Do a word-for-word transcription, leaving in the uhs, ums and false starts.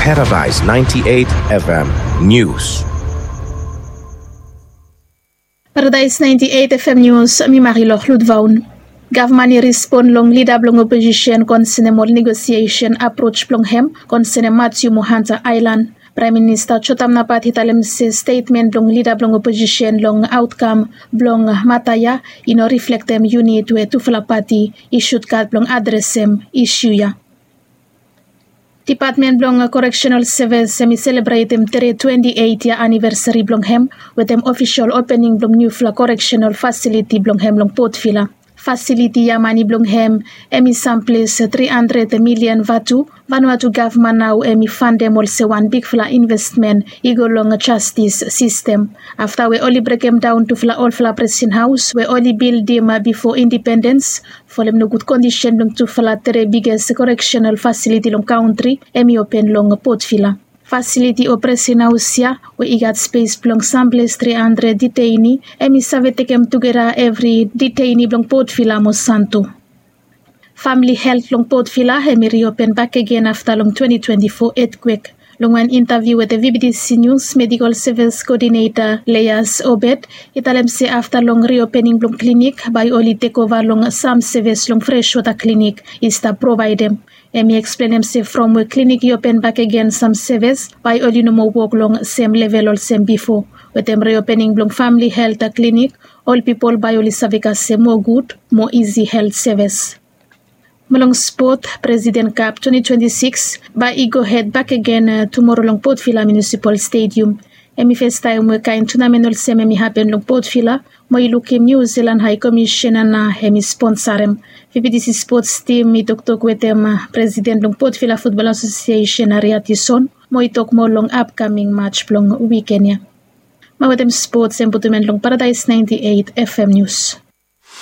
Paradise ninety-eight F M News. Paradise ninety-eight F M News, mi Marilor Ludvaun. Gavman i respon long lida blong oposisen konsenem ol negosiesen aproj blong hem konsenem Matthew mo Hunter Island. Praem Minista Jotam Napat i talem se stetmen blong lida blong oposisen long aotkam blong mata ya i no riflektem yunit we tufala pati i sutgat blong adresem isu ya. Depatmen blong Correctional Service hem i selebretem tere twenti eit yia anivesari blong hem wetem ofisol opening blong niufala correctional fasiliti blong hem long Port Vila. Fasiliti ya mane blong hem hem i samples tri handred milian vatu. Vanuatu gavman nao hem i fandem olsem wan bigfala investmen i go long jastis sistem afta we oli brekem daon tufala olfala presen haos we oli bildim bifo indipendens. Folem nogud kondisen blong tufala tere biges correctional fasiliti long kantri hem i open long Port Vila. Fasiliti o presen haos ya we i gat spes blong samples tri handred diteini hem i save tekem tugeta evri diteini blong Port Vila mo Santo. Famili helt long Port Vila hem i riopen bakegen afta long twenti twenti fo etkwek. Long wan intaviu wetem V B T C News, Medikol Sevis Koodineta Leias Obed i talem se afta long riopening blong klinik bae oli tekova long sam sevis long Freshwater Klinik i stap provaedem. Hem i eksplenem se from we klinik i open bakegen sam sevis bae oli no moa wok long sem level olsem bifo. Wetem riopening blong famili helt klinik ol pipol bae oli save kasem moa gud, moa isi helt sevis. Mo long spot, Presiden Kap twenti twenti sikis bae i gohed bakegen tumoro long Port Vila Munisipal Stedium. Hem i festaem we kaen tunamen olsem hem i hapen long Port Vila mo i lukim Niu Silan Hae Komisena na hem i sponsarem. V B T C spots tim i toktok wetem Presiden blong Port Vila Futbol Asosiesen Aria Tison mo i tok moa long apkaming maj blong wiken ya. Mo wetem spots hem putum en long Paradais naenti eit F M Nius.